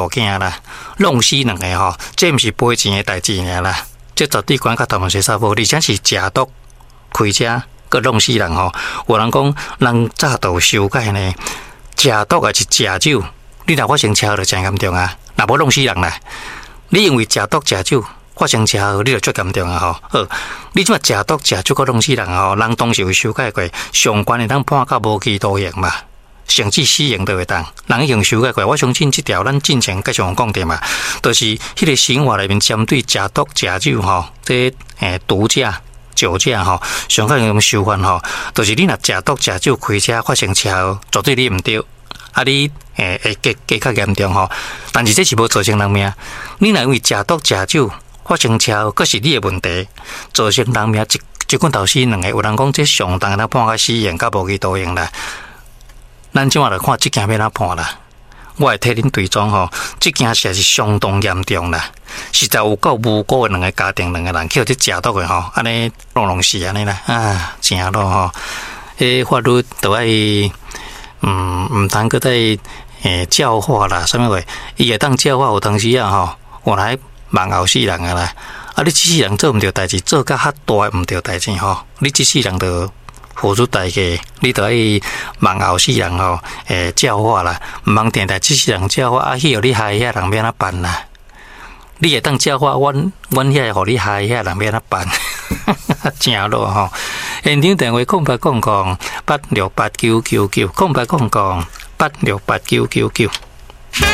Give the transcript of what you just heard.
囝啦，弄死兩个吼，這毋是賠錢的代誌爾啦，這絕對關較頭毛洗衫無，而且是食毒開車閣弄死人吼。有人講，人早就有修改呢，食毒抑是食酒，你若發生車禍就誠嚴重啊，若無弄死人啦。你因為食毒食酒發生車禍，你就足嚴重啊吼。好，你這馬食毒食酒閣弄死人吼，人當時有修改過，上懸會當判到無期徒刑嘛。甚至死刑都會當，人已經修改過。我相信這條咱進前繼續講著嘛，就是彼个刑法內面針對食毒食酒吼，這毒駕、酒駕吼，上較用修法吼，就是你若食毒食酒開車發生車禍，絕對你毋對，啊你會加加較嚴重吼。但是這是無造成人命，你若因為食毒食酒發生車禍，閣是你的問題，造成人命一一棍頭死兩个。有人講這上重會判甲死刑，佮無期徒刑啦。咱這馬來看這件欲按怎判啦？我會替恁追蹤吼，這件事是相當嚴重啦，實在有夠無辜的兩个家庭，兩个人去予這食毒的吼，按呢弄弄死按呢啦，啊，誠惱吼！彼法律都愛，毋通閣再教化啦，啥物話？伊會當教化有當時啊吼，原來網後死人啊啦！啊，你這世人做毋著代誌，做甲較大的毋著代誌吼，你這世人就付出代價，你著愛望後世人吼，教化啦，毋通定定這世人教化，啊，去予你害遐人欲按怎辦啦？你會當教化阮，阮遐個予你害遐人欲按怎辦？誠惱吼！現場電話0800868999，0800868999。